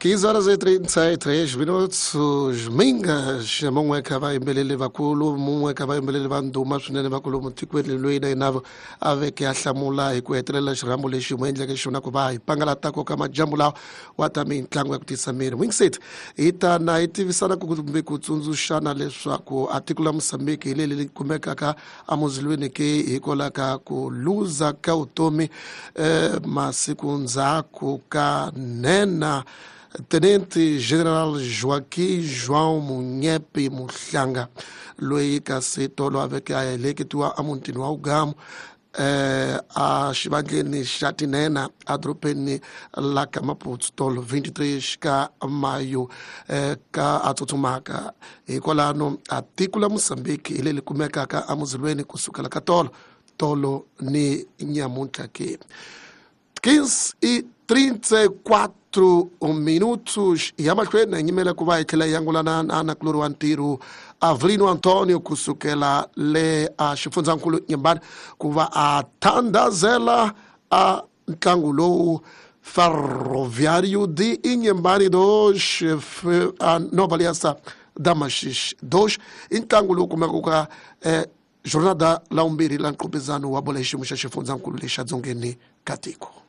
15 horas e 33 minutos. Mingas mun'we ka vayimbeleri vakulu, mun'we ka vayimbeleri va ndhuma swinene vakulu mutikweni, loyi na yena a veke a hlamula hi ku hetelela xirhambo lexi mu endleke xona ku va hi pangalatako ka majambu lawa wa ta mitlangu ya ku tisa miri wingset. Hi ta na hi tivisana kumbe ku tsundzuxana leswaku a tiko la Mosambiki hi leli kumekaka emuzilweni ke hikwalaho ka ku luza ka vutomi masiku ndzhaku ka nhenha Tenente General Joaquim João Munyepe Muhlanga, loyi kasi tolo a veke a heleketiwa emutini wa Ugamu a xivandleni xa tinhenha edorobeni la ka Maputo tolo 23 ka Mayo ka a tsutsumaka. Hikwalano a tiko la Mozambique hi leri kumekaka emuzilweni kusukela ka tolo tolo ni nyamuntlha ke. 15 e 34 minutos. Ya mahlweni hi nyimela ku va hi tlhela hi angulana na nakulori wa ntirho Avelino Antonio kusukela le a xifundzankulu Nyembani ku va a thandazela a ntlangu lowu Ferroviário de Inhambane 2, a Nova Aliança da Maxixe 2, i ntlangu lowu kumekaka ka jornada la vumbirhi la nqopezano wa bola hi xiyimo xa xifundzankulu lexa dzongeni ka tiko.